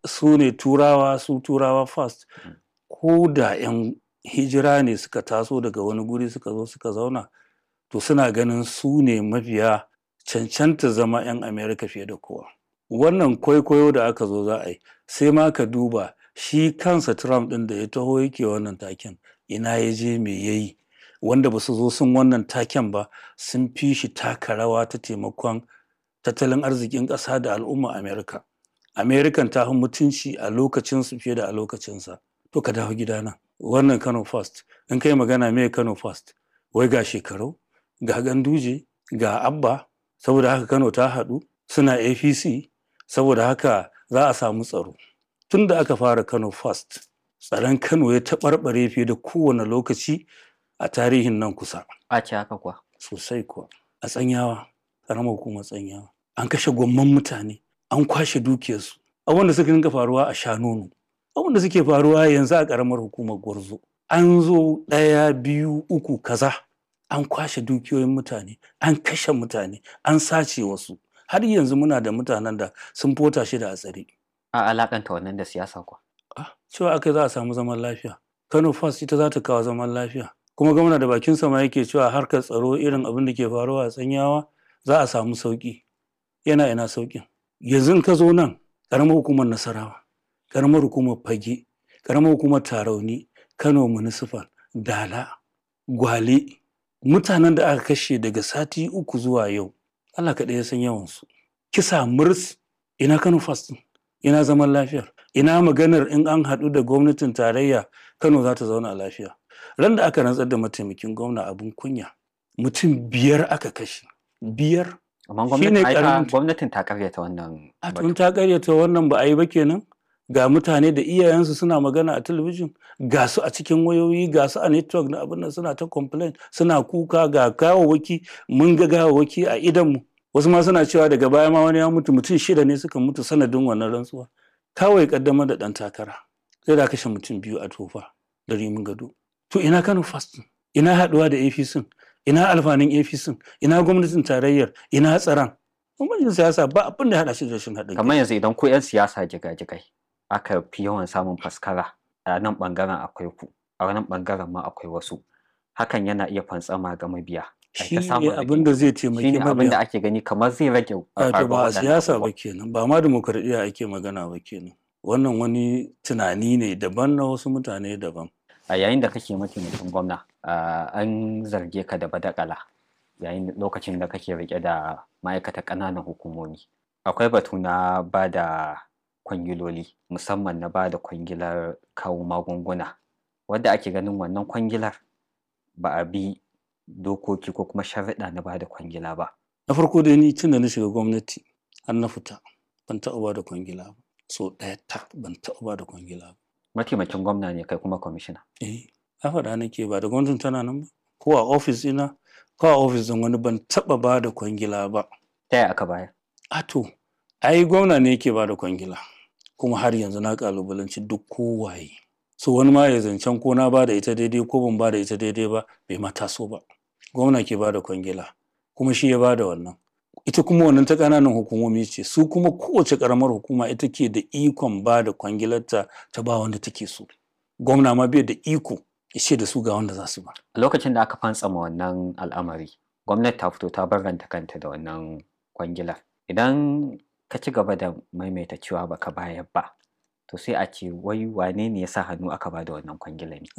Su ne Turawa, su Turawa first. Ko da 'yan hijira ne suka taso daga wani guri suka zo suka zauna, to suna ganin su ne mafiya cancanta zama 'yan America fiye da kowa. Wannan kwaikwayo da aka zo za a yi, sai ma ka duba shi kansa Trump ɗin da ya taho yake wannan taken, ina ya je me ya yi? Wanda ba su zo sun wannan taken ba sun fi shi taka rawa ta taimakon tattalin arzikin ƙasa da al'umma America. American ta fi mutunci a lokacinsu fiye da a lokacinsa. To ka dawo gidana. Wannan Kano first. In kai magana me Kano first? Wai ga Shekarau, ga Ganduje, ga Abba, saboda haka Kano ta haɗu, suna APC, saboda haka za a samu tsaro. Tun da aka fara Kano first, tsaron Kano ya taɓarɓare fiye da kowane lokaci a tarihin nan kusa. A ce haka kuwa. Sosai kuwa. A Tsanyawa, ƙaramar hukumar Tsanyawa, an kashe gwamman mutane, an kwashe dukiyarsu. Abubuwan da suka dinga faruwa a Shanono, abubuwan da suke faruwa yanzu a ƙaramar hukumar Gwarzo. An zo ɗaya, biyu, uku, kaza. An kwashe dukiyoyin mutane, an kashe mutane, an sace wasu. Har yanzu muna da mutanen da sun fota shida a tsare. A alakanta wannan da siyasa kuwa. Ah, cewa aka za a samu zaman lafiya. Kano first ita za ta kawo zaman lafiya. Kuma gwamna da bakinsa ma yake cewa harkar tsaro irin abin da ke faruwa a Tsanyawa za a samu sauƙi. Yana ina sauƙin. Yanzu in ka zo nan, ƙaramar hukumar Nasarawa, ƙaramar hukumar Fage, ƙaramar hukumar Tarauni, Kano Municipal, Dala, Gwale, mutanen da aka kashe daga sati 3 zuwa yau, Allah kaɗai ya san yawansu. Kisa murs, ina Kano first ɗin? Ina zaman lafiyar? Ina maganar in an haɗu da gwamnatin tarayya Kano za ta zauna lafiya? Ran da aka rantsar da mataimakin gwamna abin kunya, mutum 5 aka kashe. 5. Amma Shi ne gwamnatin ai ta ƙaramin gwamnatin ta karyata wannan A batu. tun ta karyata wannan ba a yi ba kenan? Ga mutane da iyayensu suna magana a talabijin, ga su a cikin wayoyi, ga su a network na abin nan suna ta complain, suna kuka ga gawawwaki, mun ga gawawwaki a idonmu. Wasu ma suna cewa daga baya ma wani ya mutu, mutum 6 ne suka mutu sanadin wannan rantsuwa. Kawai ƙaddamar da ɗan takara. Sai da aka kashe mutum 2 a Tofa da Rimin Gado. To ina Kano first ɗin? Ina haɗuwa da APC? Ina alfanun APC? Ina gwamnatin tarayyar? Ina tsaron? Bambancin siyasa ba abin da ya haɗa shi da rashin haɗin kai. Kamar yanzu idan ku 'yan siyasa jigajigai aka fi yawan samun faskara a nan ɓangaren akwai ku, a nan ɓangaren ma akwai wasu. Hakan yana iya fantsama ga mabiya. Ai Shi ta ne samun abin da zai rigingimu. Shi taimaki ne abin da mabiya. ake gani kamar zai rage Wato faruwar ba a waɗannan siyasa ba abubuwan. kenan, ba ma dimokuraɗiyya ake magana ba kenan. Wannan wani tunani ne daban na wasu mutane daban. A yayin da kake mataimakin gwamna, ah, an zarge ka da badakala yayin lokacin da kake riƙe da ma'aikatar ƙananan hukumomi. Akwai batu na ba da kwangiloli, musamman na ba da kwangilar kawo magunguna, wadda ake ganin wannan kwangilar ba a bi dokoki ko kuma sharuɗa na ba da kwangila ba. Na farko dai ni tun da na shiga gwamnati har na fita ban taɓa ba da kwangila ba. So ɗaya tak ban taɓa ba da kwangila ba. Mataimakin gwamna ne kai kuma kwamishina. Eh, na faɗa nake ba da gwamnatin tana nan ba. Ko a ofis ɗina, ko a ofis ɗin wani ban taɓa ba da kwangila ba. Ta yaya aka bayar? A to, ai gwamna ne yake ba da kwangila. Kuma har yanzu na ƙalubalanci duk kowaye. So wani ma ya zancen ko na ba da ita daidai ko ban ba da ita daidai ba bai ma taso ba. Gwamna ke ba da kwangila kuma shi ya ba da wannan. Ita kuma wannan ta ƙananan hukumomi ce, su kuma kowace ƙaramar hukuma ita ke da ikon ba da kwangilarta ta ba wanda take so. Gwamna ma bai da iko ya ce da su ga wanda za su ba. A lokacin da aka fantsama wannan al'amari, gwamnati ta fito ta barranta kanta da wannan kwangilar. Idan ka ci gaba da maimaita cewa baka bayar ba, to sai a ce wai wane ne ya sa hannu aka ba da wannan kwangilar ne?